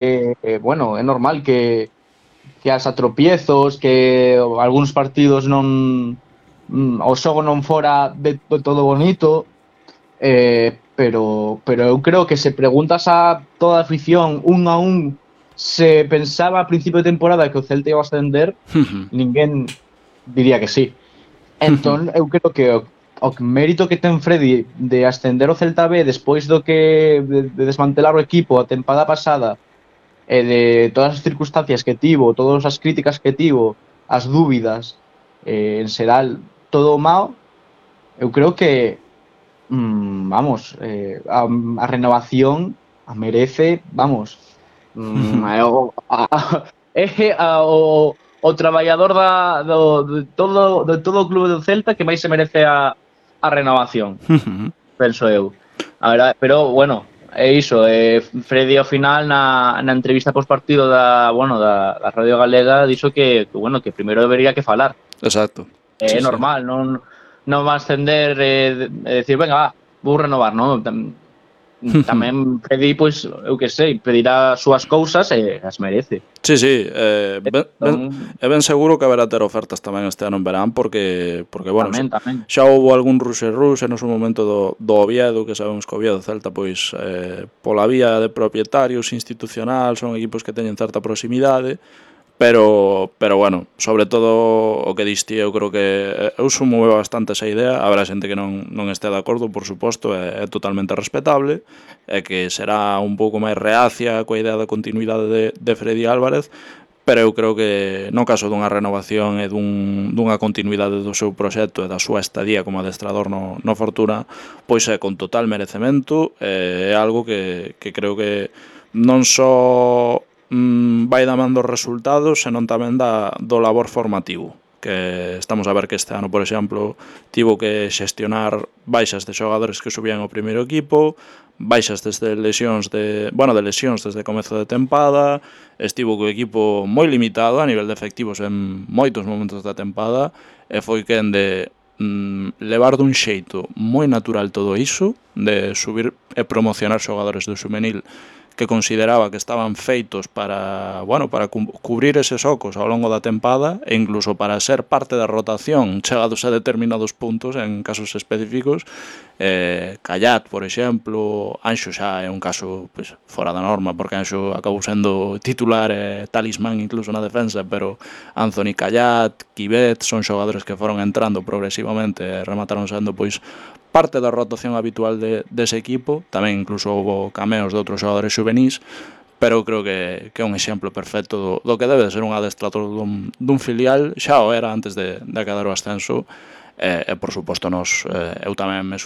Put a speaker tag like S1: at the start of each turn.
S1: bueno, é normal que haxa tropiezos, que algúns partidos o xogo non fora de todo bonito, pero eu creo que se preguntas a toda a afición un a un se pensaba a principio de temporada que o Celta iba a ascender, ninguén diría que sí. Entón, eu creo que o mérito que ten Freddy de ascender o Celta B despois de desmantelar o equipo a tempada pasada e de todas as circunstancias que tivo, todas as críticas que tivo, as dúbidas, en xeral, todo o mao, eu creo que, vamos, a renovación a merece, vamos, é o traballador de todo o clube do Celta que máis se merece a renovación, penso eu. A verdade, pero bueno, é iso, Freddy ao final na entrevista post partido da Radio Galega dixo bueno, que primeiro debería que falar.
S2: Exacto.
S1: É normal, non va a ascender e decir, venga, va, vou renovar, non? Tamén Freddy, pois, eu que sei, pedirá as súas cousas e as merece.
S2: Sí, é ben seguro que haberá ter ofertas tamén este ano en verán porque bueno,
S1: tamén.
S2: xa houve algún ruxe no seu momento do Oviedo, que sabemos que o Oviedo Celta pois pola vía de propietarios institucional son equipos que teñen certa proximidade, pero bueno, sobre todo o que diste, eu creo que eu sumo bastante esa idea. Habrá xente que non este de acordo, por suposto, é totalmente respetable, e que será un pouco máis reacia coa idea da continuidade de Freddy Álvarez, pero eu creo que no caso dunha renovación e dunha continuidade do seu proxecto e da súa estadía como adestrador no Fortuna, pois é con total merecemento, é algo que creo que non só vai damando resultados, senón tamén do labor formativo, que estamos a ver que este ano, por exemplo, tivo que xestionar baixas de xogadores que subían ao primeiro equipo, baixas desde lesións desde comezo de tempada, estivo co equipo moi limitado a nivel de efectivos en moitos momentos da tempada, e foi quen de levar dun xeito moi natural todo iso, de subir e promocionar xogadores do xuvenil que consideraba que estaban feitos para cubrir eses ocos ao longo da tempada e incluso para ser parte da rotación chegados a determinados puntos en casos específicos. Callat, por exemplo, Anxo xa é un caso pues, fora da norma, porque Anxo acabou sendo titular e talismán incluso na defensa, pero Anthony Callat, Quivet, son xogadores que foron entrando progresivamente e remataron sendo pois parte da rotación habitual dese equipo. Tamén incluso houve cameos de outros xogadores xuvenís, pero creo que é un exemplo perfecto do que debe de ser un adestrador dun filial. Xa o era antes de acadar o ascenso, e por suposto eu tamén me